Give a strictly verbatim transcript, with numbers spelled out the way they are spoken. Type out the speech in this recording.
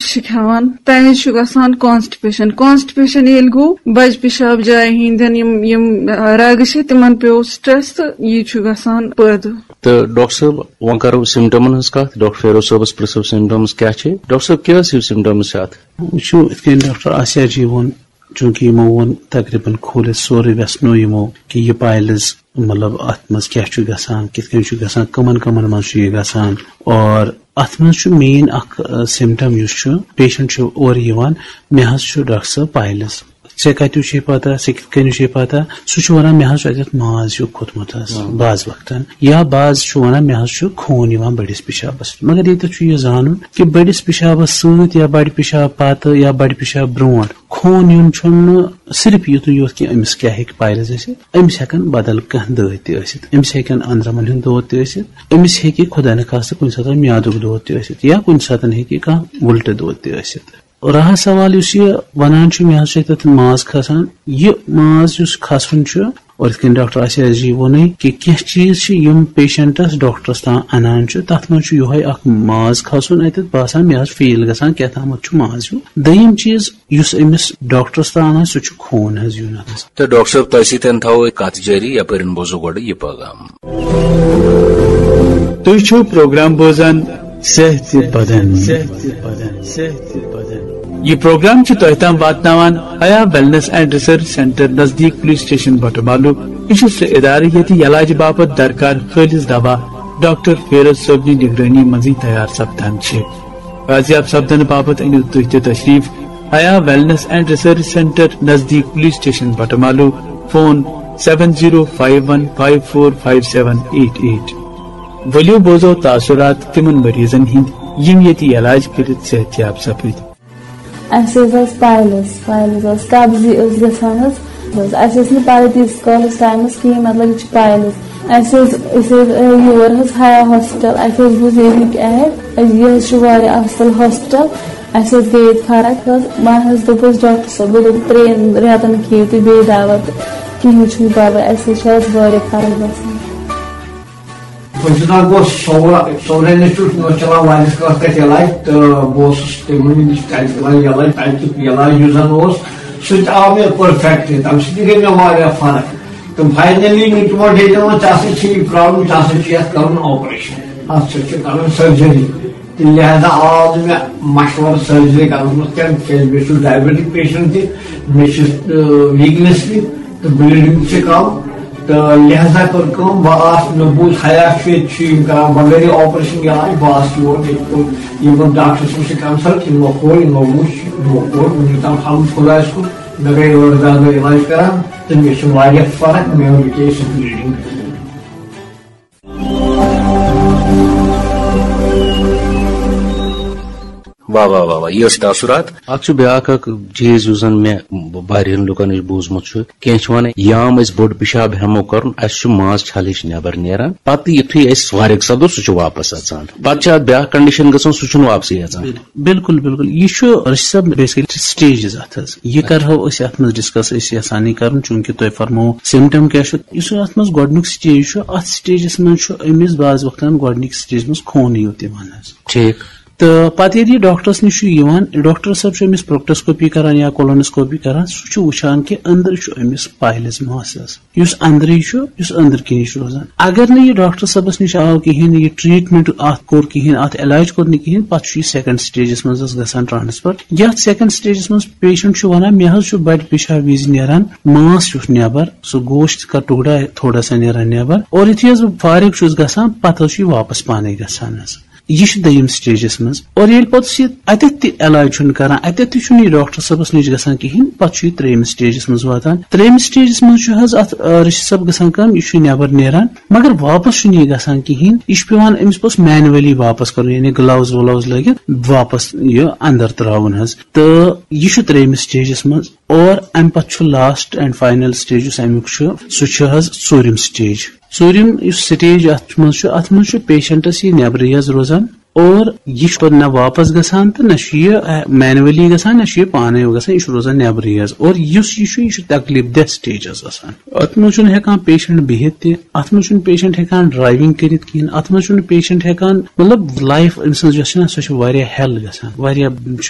چھِ کھٮ۪وان، تَمہِ وِزِ چھُ گژھان کانسٹِپیشن۔ کانسٹِپیشن ییٚلہِ گوٚو، بجہِ پِشاب جایہِ ہٕنٛدٮ۪ن یِم، یِم رگہٕ چھِ، تِمن پیوٚو سٹریس تہٕ یہِ چھُ گژھان پٲدٕ۔ تہٕ ڈاکٹر صٲب، وۄنۍ کرو سمٹمن ہٕنٛز کتھ۔ ڈاکٹر فیروز صٲبس پرژھو سمٹمز کیٛاہ چھِ۔ ڈاکٹر صٲب، کیٛاہ ٲسِو سمٹمز چھِ اتھ؟ وٕچھِو، یِتھ کٔنۍ ڈاکٹر آسیا جی ووٚن، چوٗنٛکہِ یِمو ووٚن تقریباً کھوٗلِتھ سورُے، وٮ۪ژھنو یِمو کہِ یہِ پایلز، مطلب، اتھ منٛز کیٛاہ چھُ گژھان، کِتھ کٔنۍ چھُ گژھان، کٕمن کٕمن منٛز چھُ یہِ گژھان۔ اور اتھ منٛز چھُ مین اکھ، آ، سمٹم یُس چھُ، پیشنٹ چھُ اورٕ یِوان، "مےٚ حظ چھُ ڈاکٹر صٲب پایلز۔" "ژےٚ کتیُو چھے پتہ، ژےٚ کِتھ کٔنۍ چھے پتہ؟" سُہ چھُ ونان، "مےٚ حظ چھُ اتٮ۪تھ ماز ہیوٗ کھوٚتمُت حظ، ہاں۔ بعض وقتن، یا بعض چھُ ونان، مےٚ حظ چھُ خوٗن یِوان بٔڑِس پِشابس۔" مگر ییٚتٮ۪تھ چھُ یہِ زانُن کہِ بٔڑِس پِشابس سۭتۍ یا بڑِ پِشاب پتہٕ یا بڑِ پِشاب برونٛٹھ خوٗن یُن چھُنہٕ صرف یُتُے یوت کہِ أمِس کیٛاہ ہیٚکہِ پایلز ٲسِتھ۔ أمِس ہٮ۪کن بدل کانٛہہ دٲدۍ تہِ ٲسِتھ، أمِس ہٮ۪کن أنٛدرمن ہُنٛد دود تہِ ٲسِتھ، أمِس ہیٚکہِ خۄدا نخواستہٕ کُنہِ ساتہٕ میادُک دود تہِ ٲسِتھ، یا کُنہِ ساتہٕ ہیٚکہِ کانٛہہ وُلٹہٕ دود تہِ ٲسِتھ۔ رہا سوال یُس یہِ ونان چھُ، مےٚ حظ چھُ تتھ ماز کھسان، یہِ ماز یُس کھسُن چھُ، اور یِتھ کٔنۍ ڈاکٹر آسیا جی ووٚنُے کہِ کینٛہہ چیٖز چھِ یِم پیشنٹس ڈاکٹرس تام انان چھُ، تتھ منٛز چھُ یِہوے اکھ ماز کھسُن اتٮ۪تھ، باسان مےٚ حظ فیٖل گژھان کیٛاہ تامتھ چھُ ماز ہیوٗ۔ دوٚیِم چیٖز یُس أمِس ڈاکٹرس تام آسہِ، سُہ چھُ خوٗن حظ یُن اتھ منٛز۔ تہٕ ڈاکٹر صٲب، تۄہہِ سۭتۍ تھاوو کتھ جٲری، یپٲرۍ بوزو گۄڈٕ یہِ پیغام۔ تُہۍ چھِو پروگرام بوزان صحت بدن۔ یہِ پروگرام چھُ تۄہہِ تام واتناوان حیا ویلنس اینڈ ریسرچ سینٹر نزدیٖک پولیس سٹیشن بٹہٕ مالوٗ۔ یہِ چھُ سُہ ادارٕ ییٚتہِ علاج باپتھ درکار خٲلص دوا ڈاکٹر فیروز صٲبنہِ نگرٲنی منٛزٕے تیار سپدان چھِ۔ بازیاب سپدنہٕ باپتھ أنِو تُہۍ تہِ تشریف Haya wellness and research centre نزدیٖک police station Batamaloo. Phone seven zero five one five four five seven eight eight. ؤلِو بوزو تاثرات تِمن مریضن ہٕنٛدۍ یِم ییٚتہِ علاج کٔرِتھ صحت یاب سپٕدۍ۔ اَسہِ حظ ٲس پایلز، پایلز ٲس، قبضی ٲس گژھان حظ۔ بس، اَسہِ ٲس نہٕ پَے تیٖتِس کالَس ٹایمَس کِہیٖنۍ، مطلب، یہِ چھِ پایلز۔ اَسہِ حظ، أسۍ حظ، آے یور حظ حیا ہاسپِٹل، اَسہِ حظ بوٗز ییٚتِکۍ ایڈ، یہِ حظ چھُ واریاہ اَصٕل ہاسپِٹل۔ اَسہِ حظ گٔے ییٚتہِ فرق حظ۔ وۄنۍ حظ دوٚپ اَسہِ ڈاکٹر صٲب، دوٚپُن، "ترٛٮ۪ن رٮ۪تَن کھیٚیِو تُہۍ بیٚیہِ دوا تہٕ کِہیٖنۍ چھُنہٕ پَرواے، اَسہِ حظ چھِ آز واریاہ فرق گژھان۔" بہٕ چھُس ناو گوٚو سورا، سورا انسٹیٹیوٹ، مےٚ اوس چلان واریاہَس کالَس تَتہِ علاج، تہٕ بہٕ اوسُس تِمَن نِش تَتہِ دِوان یہِ علاج، تَتہِ یہِ علاج یُس زَن اوس، سُہ تہِ آو مےٚ پٔرفیکٹ، تَمہِ سۭتۍ تہِ گٔے مےٚ واریاہ فرق۔ تہٕ فاینٔلی نیوٗ تِمو ڈیٹا ووٚن، "ژےٚ ہسا چھِ یہِ پرابلم، ژےٚ ہسا چھُ یَتھ کَرُن آپریشن، اَتھ سۭتۍ چھُ کَرُن سٔرجری۔" تہٕ لہذا آو نہٕ مےٚ مشورٕ سٔرجری کَرنَس منٛز کینٛہہ، تِکیٛازِ مےٚ چھُ ڈایبیٹک پیشنٹ تہِ، مےٚ چھِ، آ، ویٖکنیس تہِ تہٕ بلیٖڈنگ تہِ چھِ کَم۔ تہٕ لہذا کٔر کٲم، بہٕ آس، مےٚ بوٗز حیا چھُ ییٚتہِ چھُ یِم کران بغٲرٕے آپریشن علاج، بہٕ آس یور، ییٚتہِ کوٚر یِمن ڈاکٹر صٲب سۭتۍ کنسلٹ، یِمو کوٚر، یِمو وُچھ، یِمو کوٚر، وُنیُک تام الحمد خۄدایَس کُن، مےٚ گٔے ٲٹھ دَہ دۄہ علاج کران تہٕ مےٚ چھِ واریاہ فرق، مےٚ ٲس یہِ بلیٖڈنگ۔ واہ واہ واہ واہ، یہِ ٲسۍ تاثرات۔ اکھ چھُ بیٛاکھ اکھ چیٖز یُس زن مےٚ واریاہن لُکن نِش بوٗزمُت چھُ، کینٛہہ چھِ ونان، یام أسۍ بوٚڑ پِشاب ہٮ۪مو کرُن، اسہِ چھُ ماز چھلٕچ نٮ۪بر نیران، پتہٕ یُتھُے أسۍ فارغ سپدو، سُہ چھُ واپس اژان۔ پتہٕ چھُ اتھ بیٛاکھ کنڈیشن گژھان، سُہ چھُنہٕ واپسٕے اژان۔ بِلکُل، بِلکُل۔ یہِ چھُ، رشی صٲب، بیسکلی سٹیجز اتھ حظ۔ یہِ کرہو أسۍ اتھ منٛز ڈسکس، أسۍ یژھان یہِ کرُن، چوٗنکہِ تۄہہِ فرموو سمٹم کیٛاہ چھُ۔ یُس اتھ منٛز گۄڈٕنیُک سٹیج چھُ، اتھ سٹیجس منٛز چھُ أمِس بعض وقتن گۄڈٕنِکۍ سٹیج منٛز خوٗنٕے یوت یِوان حظ۔ ٹھیٖک۔ تہٕ پتہٕ ییٚلہِ یہِ ڈاکٹرس نِش چھُ یِوان، ڈاکٹر صٲب چھُ أمِس پروکٹوسکوپی کران یا کولونوسکوپی کران، سُہ چھُ وٕچھان کہِ أنٛدرٕ چھُ أمِس پایلز ماس حظ۔ یُس أنٛدرٕے چھُ، یُس أنٛدرٕ کِنی چھُ روزان۔ اگر نہٕ یہِ ڈاکٹر صٲبس نِش آو کِہیٖنۍ، یہِ ٹریٹمنٹ اتھ کوٚر کِہیٖنۍ، اتھ علاج کوٚر نہٕ کِہیٖنۍ، پتہٕ چھُ یہِ سیکنڈ سٹیجس منٛز حظ گژھان ٹرانسفر۔ یتھ سیکنڈ سٹیجس منٛز پیشنٹ چھُ ونان، مےٚ حظ چھُ بڑِ پِشاب وِزِ نیران ماس ہیوٗ نٮ۪بر، سُہ گوشت کا ٹُکڑا تھوڑا سا نیران نٮ۪بر، اور یُتھُے حظ بہٕ فارغ چھُس گژھان، پتہٕ حظ چھُ یہِ واپس پانے گژھان حظ۔ یہِ چھُ دوٚیِم سٹیجس منٛز۔ اور ییٚلہِ پتہٕ سُہ یہِ اتٮ۪تھ تہِ علاج چھُنہٕ کران، اتٮ۪تھ تہِ چھُنہٕ یہِ ڈاکٹر صٲبس نِش گژھان کِہیٖنۍ، پتہٕ چھُ یہِ ترٛیٚیِمِس سٹیجس منٛز واتان۔ ترٛیٚیِمِس سٹیجس منٛز چھُ حظ اتھ، آ، رشی صٲب گژھان کٲم، یہِ چھُ نٮ۪بر نیران، مگر واپس چھُنہٕ یہِ گژھان کِہیٖنۍ۔ یہِ چھُ پٮ۪وان أمِس پتہٕ مینولی واپس کرُن، یعنی گلاوز ولاوز لٲگِتھ واپس یہِ اندر تراوُن حظ۔ تہٕ یہِ چھُ ترٛیٚیِمِس سٹیجس منٛز۔ اور امہِ پتہٕ چھُ لاسٹ اینڈ فاینل سٹیج یُس امیُک چھُ، سُہ چھُ حظ ژوٗرِم سٹیج۔ ژوٗرِم یُس سٹیج اتھ منٛز چھُ، اتھ منٛز چھُ پیشنٹس یہِ نٮ۪برٕے حظ روزان، اور یہِ چھُ پتہٕ نہ واپس گژھان تہٕ نہ چھُ یہِ مینولی گژھان، نہ چھُ یہِ پانے گژھان، یہِ چھُ روزان نیبرٕے حظ۔ اور یُس یہِ چھُ، یہِ چھُ تکلیف دہ سٹیج حظ آسان۔ اتھ منٛز چھُنہٕ ہٮ۪کان پیشنٹ بِہِتھ تہِ، اتھ منٛز چھُنہٕ پیشنٹ ہٮ۪کان ڈرایونگ کٔرِتھ کِہیٖنۍ، اتھ منٛز چھُنہٕ پیشنٹ ہٮ۪کان، مطلب، لایف أمۍ سٕنٛز یۄس چھِ نہ، سۄ چھِ واریاہ ہیل گژھان، واریاہ چھُ